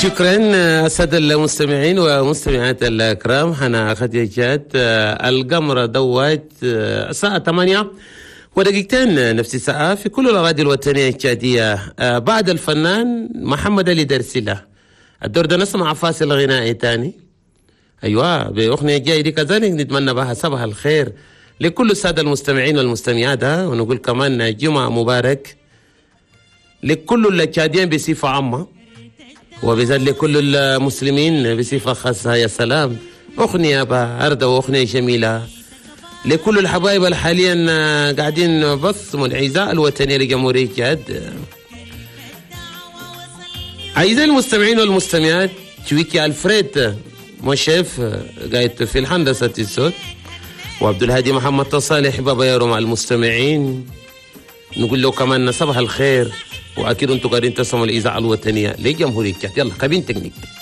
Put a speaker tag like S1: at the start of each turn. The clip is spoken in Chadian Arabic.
S1: شكرا السادة المستمعين ومستمعات الكرام. حنا خديجات القمرة دوت الساعة 8:02 نفس الساعة في كل الأراضي الوطنية التشادية. بعد الفنان محمد علي درسلة الدور ده نسمع فاصل غنائي تاني، أيوة بأغنية جاية دي كذلك نتمنى بها صباح الخير لكل السادة المستمعين والمستمعات، ونقول كمان جمعة مبارك لكل التشاديين بصفة عامة وبالذات لكل المسلمين بصفة خاصة. يا سلام، أغنية باردة وأغنية جميلة لكل الحبايب اللي حاليا قاعدين بس من العزاء الوطنية لجمهورية تشاد. أعزائي المستمعين والمستمعات، تويكي ألفريد مشيف قاعد في الهندسة الصوت، وعبد الهادي محمد صالح بابا يارو مع المستمعين. نقول له كمان صباح الخير، واكيد انتم قاعدين تسمعوا الاذاعة الوطنية لجمهوريه تشاد. يلا cabine technique.